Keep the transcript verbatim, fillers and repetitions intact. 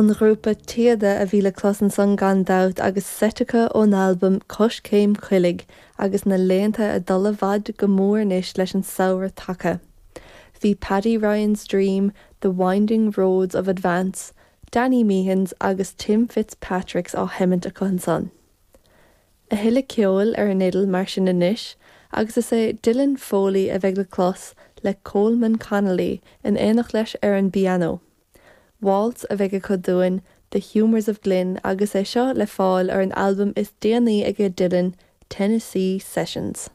An grúpa Téada a bhí le clos ansan gan dabht agus seit acu ón albam Coiscéim Coiligh agus na laethanta ag dul i bhfad go mór anois leis an samhradh tagtha. Bhí Paddy Ryan's Dream, The Winding Roads of Advance, Danny Meehan's agus Tim Fitzpatrick's á sheimint acu ansan. A thuilleadh ceoil ar an fhidil mar sin anois, agus is é Dylan Foley a bheidh le clos le Coleman Connolly in éineacht leis ar an bpianó. Waltz a bheidh acu dúinn The Humours of Glynn agus é seo le fáil ar an albam is déanaí ag Dylan, Tennessee Sessions.